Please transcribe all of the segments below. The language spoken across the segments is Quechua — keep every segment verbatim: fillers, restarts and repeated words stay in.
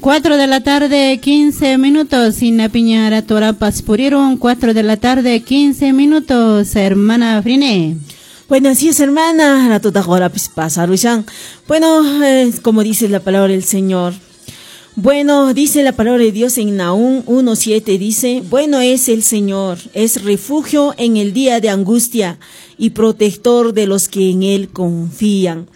Cuatro de la tarde, quince minutos. Sinapiña ratorapas purirun. Cuatro de la tarde, quince minutos. Hermana Frine. Bueno, así es, hermana. Ratota horapis pasarushan. Bueno, eh, como dice la palabra del Señor. Bueno, dice la palabra de Dios en Nahúm uno siete, dice: "Bueno es el Señor, es refugio en el día de angustia y protector de los que en Él confían".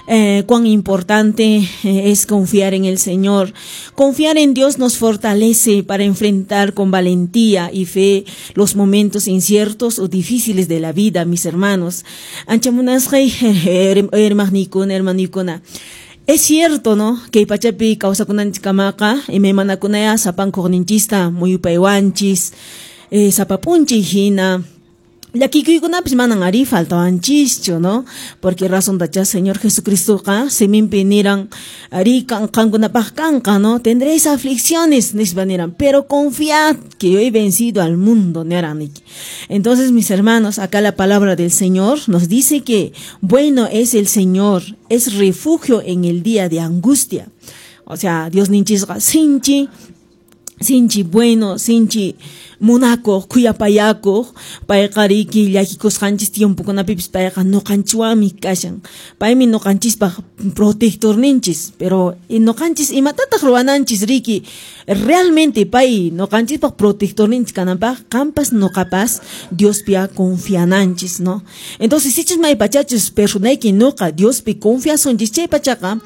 Eh, cuán importante eh, es confiar en el Señor. Confiar en Dios nos fortalece para enfrentar con valentía y fe los momentos inciertos o difíciles de la vida, mis hermanos. Hermanikuna. Es cierto, ¿no? Que pachapi kawsakunanchiskamaqa imaymanakunaya sapankuqninchista muyupaywanchis, eh, sapa p'unchay hina llakikuykunapis manan ari faltawanchischu, ¿no? Porque razontacha Señor Jesucristoqa siminpi niran ari qankunapaq kanqa, ¿no? "Tendréis aflicciones", nispa niran, "pero confiad, que yo he vencido al mundo", niran. Entonces, mis hermanos, acá la palabra del Señor nos dice que bueno es el Señor, es refugio en el día de angustia. O sea, Diosninchisqa sinchi sinchi bueno, sinchi munakuq, khuyapayakuq, payqa riki llakikusqanchis tiempokunapipis payqa ñuqanchikwanmi kashan. Paymi ñuqanchispaq protectorninchis, pero ñuqanchis imatataq ruwananchis riki realmente pay ñuqanchispaq protectorninchis kananpaq? Qampas ñuqapas Diospia confiananchis, ¿no? Entonces, sichus maypachachus personayki ñuqa Diospi confiasunchis chay pachaqa